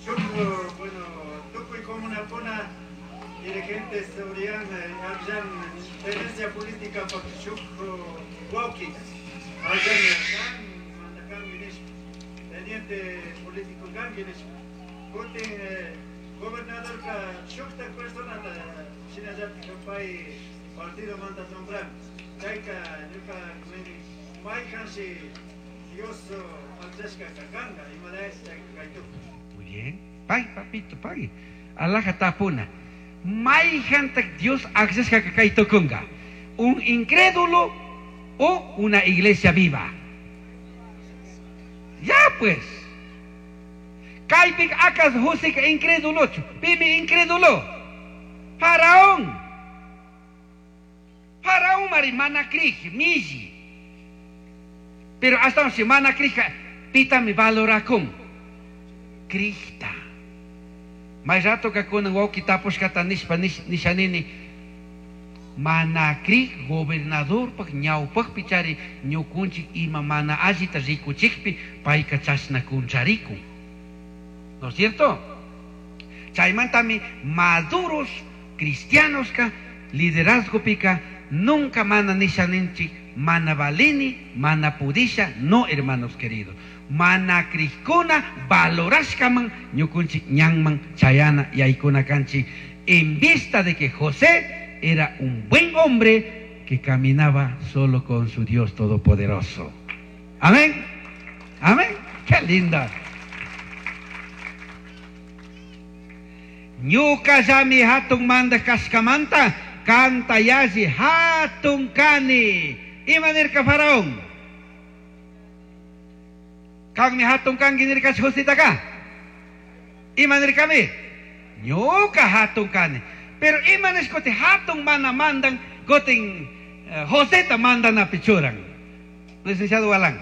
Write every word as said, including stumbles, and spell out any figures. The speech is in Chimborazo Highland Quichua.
Shuk, bueno, tukuy comunakuna dirigentes uriyan akllan tenencia política pak shuk wawkita. Akllan kan mandakanki nishpa. Teniente político kanki nishpa. Kutin gobernadorka shuktak personata shinallatik pay partido manta nombran. Chayka ñuka nini mayhanshi Dios akllashka kanka imadash chayka kaytukun. Muy bien. Pay, papito, pay. Alaja tapuna. Mayhantak Dios akllashka kaytukunga. Un incrédulo o una iglesia viva. Ya pues. Kaypik akas Joseka incrédulochu. Pimi incrédulo. Faraón. Faraón mari mana crij, milli. Pero hasta si mana crija, pitami valorakun. Crijta. May rato kakunan wawki tapushkata nishpa nishanini. Mana crij gobernadorpak ñawpakpi chari ñukunchik ima mana allita rikuchikpi payka chashna kuncharikun. ¿No es cierto? Chaymantami maduros cristianos ka liderazgopika nunca mana nishaninchik mana valini, mana pudisha, no hermanos queridos. Mana crijkuna valorashkaman ñukunchik ñanman chayana yaykuna kanchik en vista de que José era un buen hombre que caminaba solo con su Dios Todopoderoso. Amén. Amén. Qué linda. Ñuka llami hatun manda kashkamanta kanta yalli hatun kani. Ima nirka faraón. Kanmi hatun kanki nirka Jositaka. Ima nirkami. Ñuka hatun kani. Pero ima nishkote hatun mana mandan kotin uh, Joseta mandan a pichuran. Licenciado Galán.